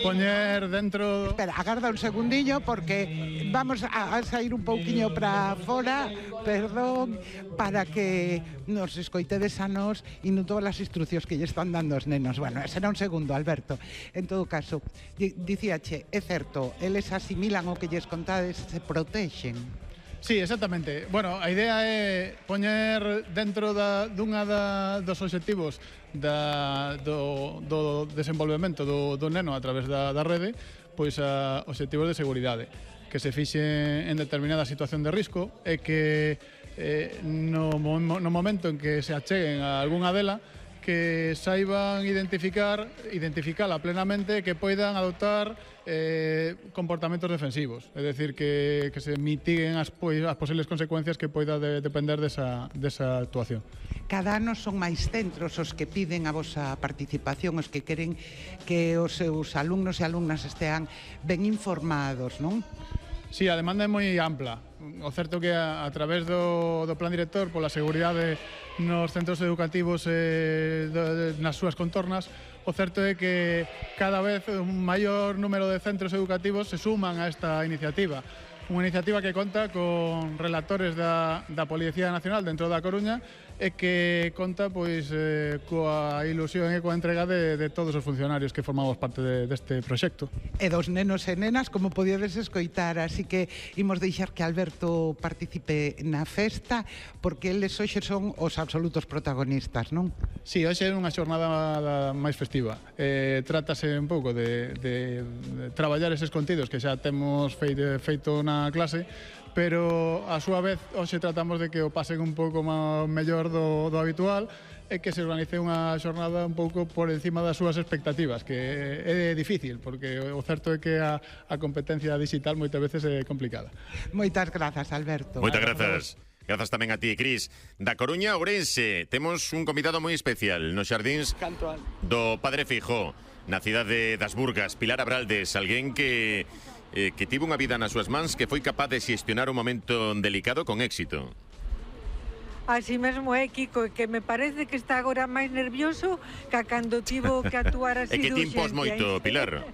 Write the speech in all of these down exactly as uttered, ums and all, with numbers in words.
poñer dentro... Espera, agarda un segundillo porque vamos a, a sair un pouquiño para fora, perdón, para que nos escoitedes a nos e non todas as instruccións que lle están dando os nenos. Bueno, será un segundo, Alberto. En todo caso, dicíache, é certo, eles asimilan o que lles contades, se protexen. Sí, exactamente. Bueno, a idea é poñer dentro da, dunha da, dos obxectivos da, do, do desenvolvemento do, do neno a través da, da rede, pois a obxectivos de seguridade, que se fixe en determinada situación de risco e que eh, no, no momento en que se acheguen a algunha dela, que saiban identificar, identificala plenamente, que poidan adoptar eh, comportamentos defensivos, é dicir, que, que se mitiguen as, as posibles consecuencias que poida de, depender desa, desa actuación. Cada ano son máis centros os que piden a vosa participación, os que queren que os seus alumnos e alumnas estean ben informados, non? Sí, a demanda é moi ampla. O certo que a, a través do, do Plan Director pola seguridade nos centros educativos e de, de, nas súas contornas, o certo é que cada vez un maior número de centros educativos se suman a esta iniciativa. Unha iniciativa que conta con relatores da, da Policía Nacional dentro da Coruña e que conta pois eh, coa ilusión e coa entrega de, de todos os funcionarios que formamos parte de, deste proxecto. E dos nenos e nenas, como podíades escoitar, así que imos deixar que Alberto participe na festa, porque eles hoxe son os absolutos protagonistas, non? Sí, hoxe é unha xornada máis festiva. Eh, trátase un pouco de, de, de traballar eses contidos que xa temos feito, feito na clase, pero a súa vez hoxe tratamos de que o pasen un pouco máis mellor do, do habitual e que se organice unha xornada un pouco por encima das súas expectativas, que é difícil, porque o certo é que a, a competencia digital moitas veces é complicada. Moitas grazas, Alberto. Moitas grazas. Grazas tamén a ti, Cris. Da Coruña a Ourense, temos un convidado moi especial nos xardíns do Padre Feijóo, na cidade das Burgas, Pilar Abraldes, alguén que eh, que tivo unha vida nas súas mans, que foi capaz de xestionar un momento delicado con éxito. Así mesmo é, Kiko, que me parece que está agora máis nervioso que cando tivo que actuar así. E que de timpos moito, Pilar.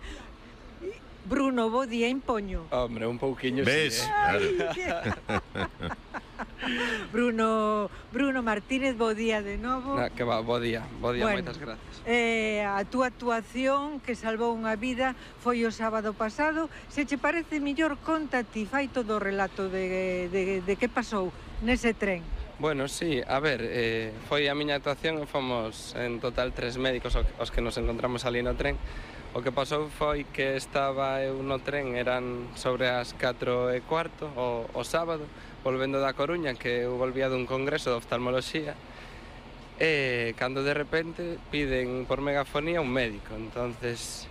Bruno, bo día, impoño. Hombre, un pouquiño. Ves? Sí, eh? Ay, que... Bruno, Bruno Martínez, bo día de novo. No, que va, bo día, bo día, bueno, moitas gracias. Eh, a túa actuación que salvou unha vida foi o sábado pasado. Se che parece mellor, conta ti, fai todo o relato de, de, de que pasou nese tren. Bueno, sí, a ver, eh, foi a miña actuación, fomos en total tres médicos os que nos encontramos ali no tren. O que pasou foi que estaba eu no tren, eran sobre as catro e cuarto o, o sábado, volvendo da Coruña, que eu volvía dun congreso de oftalmoloxía, e cando de repente piden por megafonía un médico. Entonces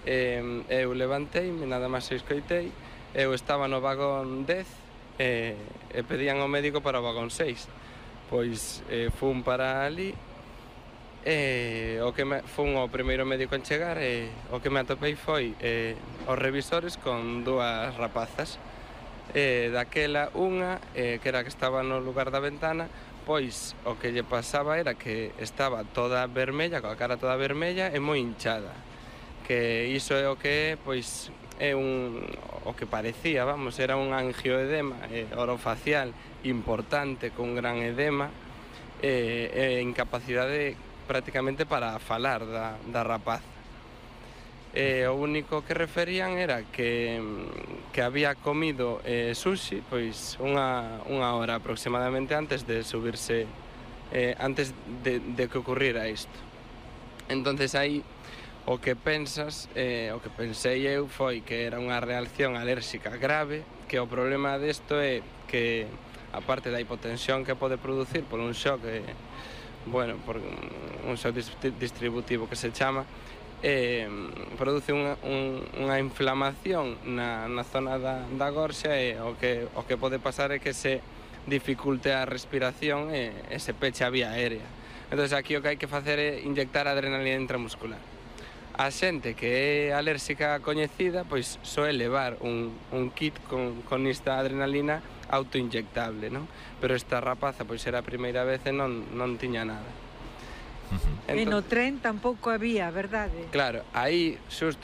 eh, eu levanteime, nada máis escoitei, eu estaba no vagón dez e, e pedían ao médico para o vagón seis. Pois eh, fun para ali, e o que me, fun o primeiro médico en chegar, e o que me atopei foi eh, os revisores con dúas rapazas. E daquela unha, eh, que era que estaba no lugar da ventana, pois o que lle pasaba era que estaba toda vermella, coa cara toda vermella e moi hinchada. Que iso é o que é, pois, é un, o que parecía, vamos, era un angioedema eh, orofacial importante, con gran edema, e eh, eh, incapacidade prácticamente para falar da, da rapaza. E o único que referían era que, que había comido eh, sushi pois unha, unha hora aproximadamente antes de subirse, eh, antes de, de que ocurriera isto. Entonces aí o que pensas, eh, o que pensei eu foi que era unha reacción alérxica grave, que o problema desto é que, aparte da hipotensión que pode producir por un shock, eh, bueno, por un shock distributivo que se chama, eh, produce unha, un, unha inflamación na, na zona da, da gorxa, e o que, o que pode pasar é que se dificulte a respiración e, e se peche a vía aérea. Entón, aquí o que hai que facer é inyectar adrenalina intramuscular. A xente que é alérxica coñecida, pois soe levar un, un kit con, con esta adrenalina autoinyectable, non? Pero esta rapaza, pois era a primeira vez e non, non tiña nada. Uh-huh. Entón, e no tren tampouco había, verdade? Claro, aí, xusto,